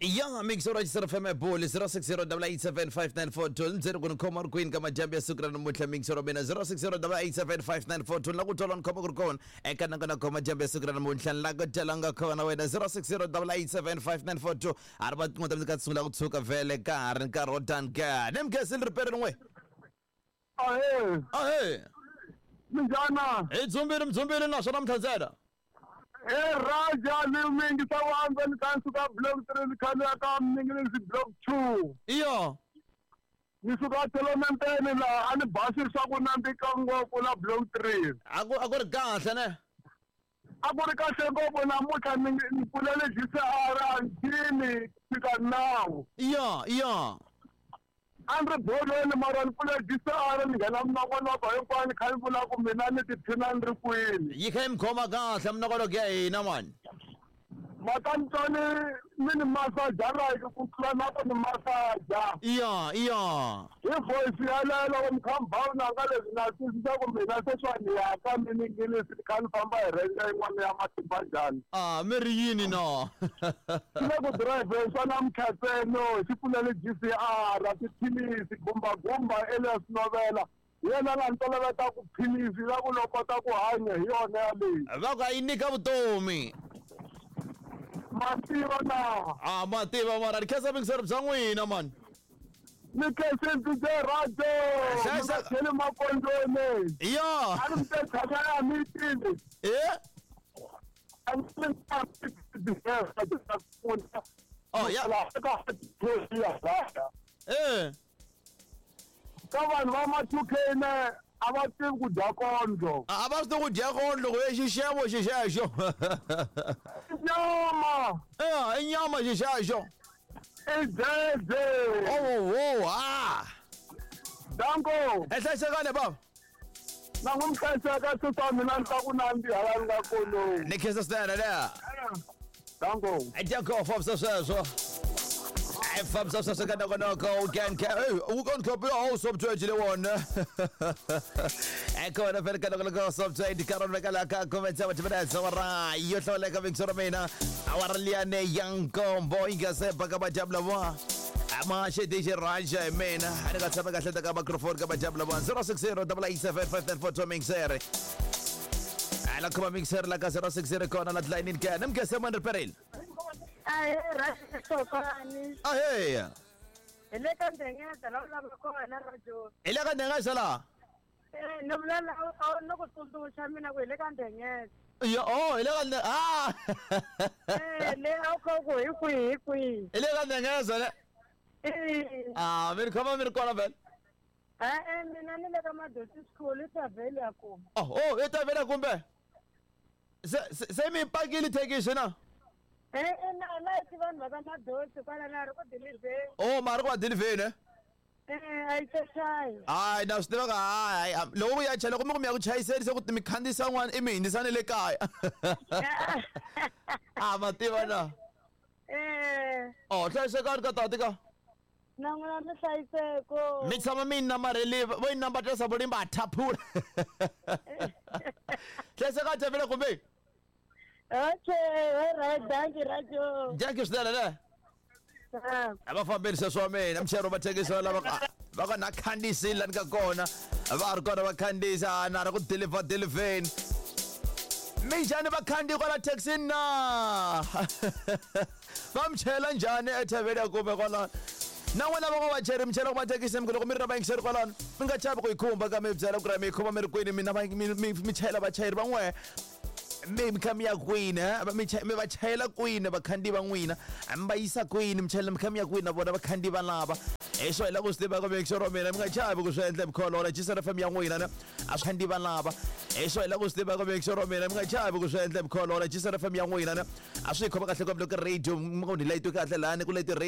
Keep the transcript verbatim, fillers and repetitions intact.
Ya mixer wa F M Boli zero six zero double eight seven five nine four two ndzeni ku ni khoma ri kwini ka majambu ya siku ra namuntlha mixer wa mina zero six zero double eight seven five nine four two la ku twala ni khoma ku ri kona eka nanga na khoma majambu ya siku ra namuntlha la ku twala nga khona wena zero six zero double eight seven five nine four two a ri va tin'wana ta ka sungula ku tshuka vhele ka ha ri nkarhi wo tani ka ni mkhensile ripere rin'we. Ahee. Ahee. Minjhana? Hi dzumbile mdzumbile naswona mtlhandzela. Hey Raja, ni mingi sawanza ni kansu ka block three ni khale ka mingi ni block two. Iyo. Ni suka Tolomenteni la a ni basi swa ku nandzika ngopfu la block three. A ku a ku ri kahle ne? A ku ri kahle ngopfu namuntlha ni ni pfulele G C R a ndini fika now. Iyo, iyo. A ni ri bolweni mara ni pfule G C R ni nghena minongonoko hinkwayo ni kha ni vula ku mina ni tiphina ni ri kwini. Yi kha yi mi khoma kahle minongonoko ya hina mani. Matantswani mi ni masaja like ku tlula na ku ni masaja. Iyo, iyo. Hi voice yaleyo loko mi kha mi ba vunanga leswi na twisisa ku mina se swa ni yaka mi ni ngilisi ni kha ni famba hi renga yin'wana ya matimba njhani. Ah, mi ri yini no? Swi le ku dirayivheni swa na mkhatseno xi pfulele G C R tiphilisi gumbagumba Elias Novela. Yena la ni toloveta ku philisi la ku lo kota ku hanya hi yona yaleyi. Va ku a yi nyika vutomi. Mativa na. Ah, mativa mara ni khensa vingisero bya n'wina mani. Ni khensa D J Rajo. Xaxa ni makondweni. Iyo. A ni mte tshama ya meeting. Eh? Oh ya. Eh. Ka vanhu va ma two K ne a va tivi ku dya kondlo. A va swi tivi ku dya kondlo ku xixevo xixexo. Nyama. Eh, i nyama xixexo. I dzedze. Oh, oh, ah. Danko. E hlayisekani baba. Na n'wi mi hlayiseka swi mina ni ta ku nandziha laha ni nga kona. Ni khensa swinene leya. Danko. Danko fambisa sweswo. I fambisa sweswo ka nongonoko u can u can copy all subject le wona. Ekona vele ka nongonoko subject ka rona ka la ka comments wa tibela sawara yo hlawuleka vingisoro mina awara liyane ya nkombo yi nga se baka majabla wa. Ma xi D J Raja hi mina a ni nga tshama kahle ka microphone ka majabla wa zero six zero double eight seven five nine four two mixer. Ala khoma mixer la ka zero six zero kona la line ka ni mkese man reperil. Ahee Rajo Sokani. Ahee. Hi le ka Ndengeza la vulavula kona Rajo. Hi le ka Ndengeza la? Eh, ni vula la ni ku tsundzuxa mina ku hi le ka Ndengeza. Yo, oh, hi le ka ah. Eh, le a wu kha ku hi kwihi hi kwihi. Hi le ka Ndengeza le. Eh. Ah, mi ri khoma mi ri kona vhele. Eh, mina ni le ka Madosi School i Tavhele ya kuma. Oh, oh, i Tavhele kumbe. Se se mi pakile thekisi na? Eh, eh, na la ti vanhu va ka Madosi kwala na ri ku dilivheni. Oh, ma ri ku va dilivheni eh? Eh, a yi se chayi. Hayi, na swi tiva ka hayi, loko ku ya chela kumbe ku mi ya ku chayiseni se ku mi khandziyisa n'wana i mi hundzisa ni le kaya. Ah, ma tiva na. Eh. Oh, hlayisekani ka tati ka. Na n'wina mi hlayiseko. Mi tshama mi namarheli vo yi nambatela vo limba thaphula. Hlayisekani Tavhele kumbe. Okay, all right, thank you Rajo. Thank you swinene ne. A va fambeli sweswo wa mina muchayeri wa mathekisi lava va ka na khandziyisile la ni ka kona va ri kona va khandziyisa na ri ku deliver deliveni. Minjhani vakhandziyi kwala thekisini na? Va mi chayela njhani eThavhele ya kumbe kwalano? Na n'wina va vachayeri mi chayela ku mathekisi mi ku loko mi ri na vayingiseri kwalano mi nga chavi ku yi khumba ka mi byela ku ri mi yi khoma mi ri kwini mina mi chayela vachayeri va n'wehe mi mi kha mi ya kwini mi va chayela kwini vakhandziyi va n'wina mi va yisa kwini mi chayela mi kha mi ya kwini na vona vakhandziyi va lava hi swo hi la ku swi tiva ka mixero wa mina mi nga chavi ku swi endla mikholola G C F M ya n'wina ne a swi khandziyi va lava hi swo hi la ku swi tiva ka mixero wa mina mi nga chavi ku swi endla mikholola G C F M ya n'wina ne a swi khoma kahle ngopfu loko radio mi nga ni layitiwi kahle lani ku layiti radio.